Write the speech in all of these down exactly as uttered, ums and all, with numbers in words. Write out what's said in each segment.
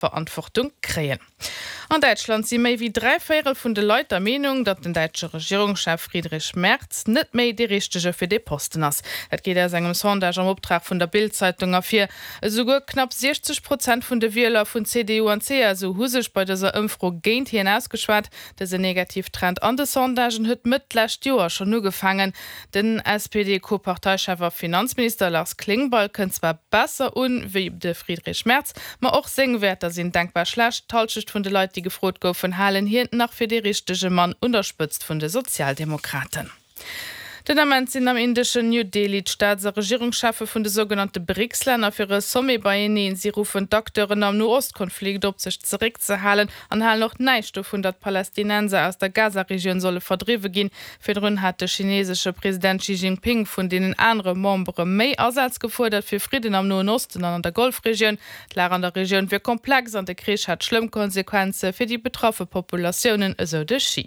Verantwortung kréien. An Däitschland si méi wéi dräi Véierel vun de Leit der Meenung, datt den däitsche Regierungschef Friedrich Merz net méi dee Richtege fir dee Posten ass. Dat geet aus engem Sondage am Optrag vun der Bild-Zeitung ervir. Esouguer knapp siechzeg Prozent vun de Wieler vun C D U an C S U hu sech bei dëser Ëmfro géint hien ausgeschwat. Dëse Negativtrend an de Sondagen huet Mëtt d'lescht Joer schonn ugefaangen. Den S P D-Co-Parteichef a Finanzminister Lars Klingbeil kënnt zwar besser un wéi de Friedrich Merz, ma och seng Wäerter sinn denkbar schlecht. D'Hallschecht vun de Leit, déi gefrot goufen, halen hien nach fir dee richtege Mann un der Spëtzt vun de Sozialdemokraten. Den Ament sinn am indeschen New Delhi d'Staats a Regierungscheffe vun de sougenannte BRICS-Länner fir e Sommet beieneen. Si ruffen d'Acteuren am No-Ost-Konflikt op, sech zeréckzehalen an halen och näischt dovun, datt Palästinenser aus der Gaza-Regioun solle verdriwwe ginn. Virdrun hat de chinesesche President Xi Jinping vun deenen anere Membere méi Asaz gefuerdert fir Fridden am Noen Osten an an der Golfregioun. D'Lag an der Regioun wier komplex an de Krich hätt schlëmm Konsequenze fir déi betraffe Populatiounen, esou de Xi.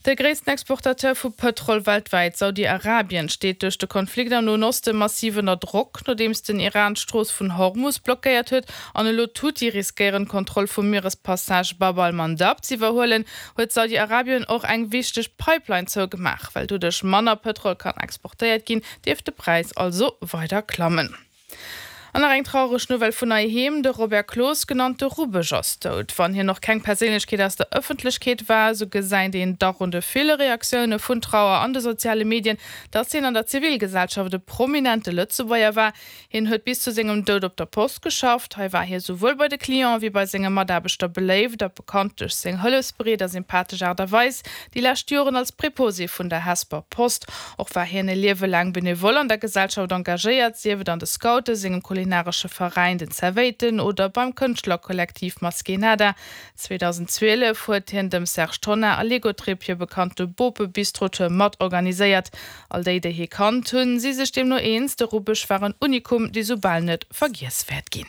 De gréissten Exportateur vu Pëtrol weltwäit, Saudi-Arabien, steet duerch de Konflikt am Noen Oste massiv ënner Drock, nodeems den Iran d'Strooss vun Hormus blockéiert huet an elo d'Huthi riskéieren, d'Kontroll vum Mierespassage Bab al-Mandab z'iwwerhuelen, huet Saudi-Arabien och eng wichteg Pipeline zougemaach. Well doduerch manner Pëtrol kann exportéiert ginn, dierft de Präis also weider klammen. An nach eng traureg Nouvelle vun heiheem, De Robert Cloos, genannt de Rubbesch, ass dout. Wann hien nach keng Perséinlechkeet aus der Ëffentlechkeet war, sou gesäit een dach un de ville Reaktioune vun Trauer an de soziale Medien, datt hien an der Zivilgesellschaft e prominente Lëtzebuerger war. Hien huet bis zu sengem Doud op der Post geschafft. Hei war hie souwuel bei de Clienten wéi bei senge Mataarbechter beléift a bekannt duerch seng hëllefsbereet a sympathesch Aart a Weis. Déi lescht Joren als Preposé vun der Hesper Post. Och war hien e Liewe laang benevol an der Gesellschaft engagéiert, sief et an de Scouten, sengem kulinaresche Veräin den Zerwéiten oder beim Kënschtlerkollektiv Maskénada. zweedausendzwielef huet hien dem Serge Tonnar a Legotrip hir bekannte Bope-Bistro-Tour mat organiséiert. All déi, déi hie kannt hunn, si sech deemno eens, de Rubbesch war en Unikum, dee soubal net vergiess wäert ginn.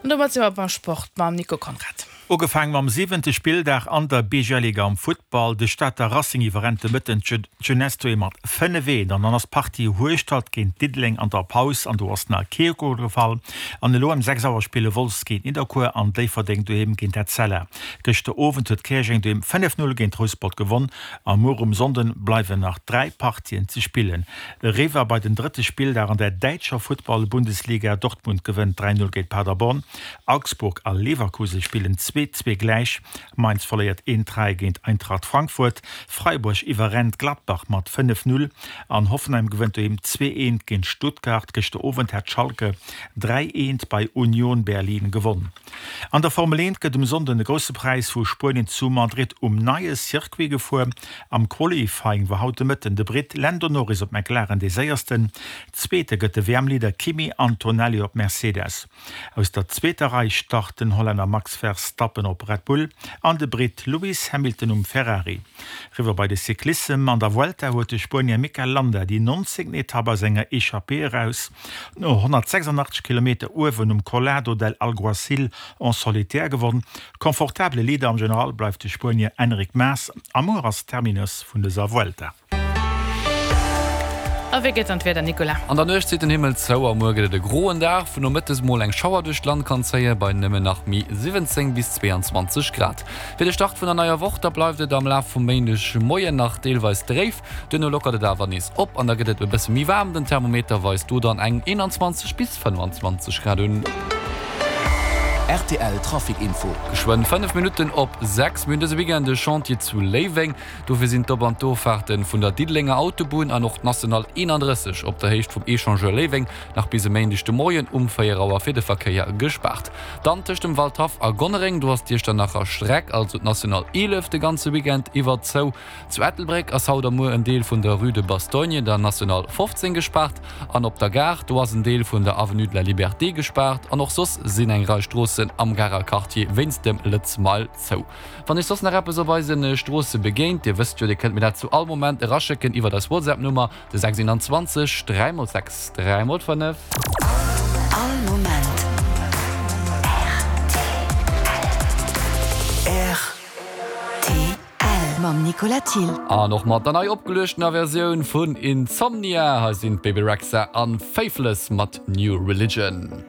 An domat si mer beim Sport mam Nico Conrad. Ugefaangen mam siwente Spilldag an der B G L-Liga am Futtball. De Stater Racing iwwerrennt de Mëtten d'Jeunesse doheem mat fënnef eent an dann ass d'Partie Hueschtert géint Diddeleng an der Paus an do ass nach kee Gol gefall. An elo ëm sechs Auer spille Wolz géint Nidderkuer an Déifferdeng doheem géint Etzella. Gëschter Owend huet Käerjeng doheem fënnef Null géint Rouspert gewonn a muer um Sonnden bleiwen nach dräi Partien ze spillen. Eriwwer bei den drëtte Spilldag an der däitscher Futtball-Bundesliga, Dortmund gewënnt dräi Null géint Paderborn, Augsburg a Leverkusen spillen zwee zwee gläich, Mainz verléiert eent dräi géint Eintracht Frankfurt, Freiburg iwwerrennt Gladbach mat fënnef Null an Hoffenheim gewënnt doheem zwee eent géint Stuttgart. Gëschter Owend hat Schalke dräi eent bei Union Berlin gewonn. An der Formel eent gëtt um Sonnden de Grousse Präis vu Spuenien zu Madrid um neie Circuit gefuer. Am Qualifying war haut de Mëtten de Britt Lando Norris op McLaren dee Séiersten. Zweete gëtt de W M-Leader Kimi Antonelli op Mercedes. Aus der zweeter Rei start den Hollänner Max Verstappen op Red Bull an de Britt Lewis Hamilton um Ferrari. Eriwwer bei de Cyclissem, An der Vuelta huet de Spuenier Mikel Landa déi nonzéngten Etapp aus enger Echappée eraus no honnertsechsandachtzeg Kilometer uewen um Collado del Alguacil en solitaire gewonn. Komfortabele Leader am General bleift de Spuenier Enric Mas a muer ass Terminus vun dëser Vuelta. A wéi geet dann d'Wieder, Nicolas? An der Nuecht zitt den Himmel zou a muer gëtt et e groen Dag, wou nomëttes mol eng Schauer duerch d'Land kann zéien, bei nëmmen nach méi siwwenzéng bis zweeanzwanzeg Grad. Fir de Start vun der neier Woch, da bleift et am Laf vum Méindeg Moien nach deelweis dréif, duerno lockert et awer nees op an da gëtt et e bësse méi waarm, den Thermometer weist do dann eng eenanzwanzeg bis fënnefanzwanzeg Grad un. R T L Trafic Info. Geschwënn fënnef Minutten op sechs. Mir hunn dëse Weekend e Chantier zu Léiweng. Dofir sinn d'Op an d'Offahrten vun der Diddelenger Autobunn an och d'National eenandrësseg op der Héicht vum Echangeur Léiweng nach bis e Méindeg de Moien um véier Auer fir de Verkéier gespaart. Dann tëscht dem Waldhaff a Gonnereng, do ass d'Iechternacher Streck, also d'National eelef, de ganze Weekend iwwer zou. Zu Ettelbréck ass haut a muer en Deel vun der Rue de Bastogne, der National fofzéng, gespaart an op der Gare, do ass en Deel vun der Avenue de la Liberté gespaart an och soss sinn eng Rei Stroossen am Garer Quartier wéinst dem Lëtz Mile zou. Wann iech soss nach eppes op eise Stroosse begéint, dir wësst jo, dir kënnt mir dat zu all Moment eraschécken iwwert eis WhatsApp-Nummer, de sechs eenanzwanzeg dräi mol sechs dräi mol fënnef. All Moment R T L mam Nicolas Thill. An och mat der nei opgeluechtener Versioun vun Insomnia. Hei sinn d'Bebe Rexha an Faithless mat New Religion.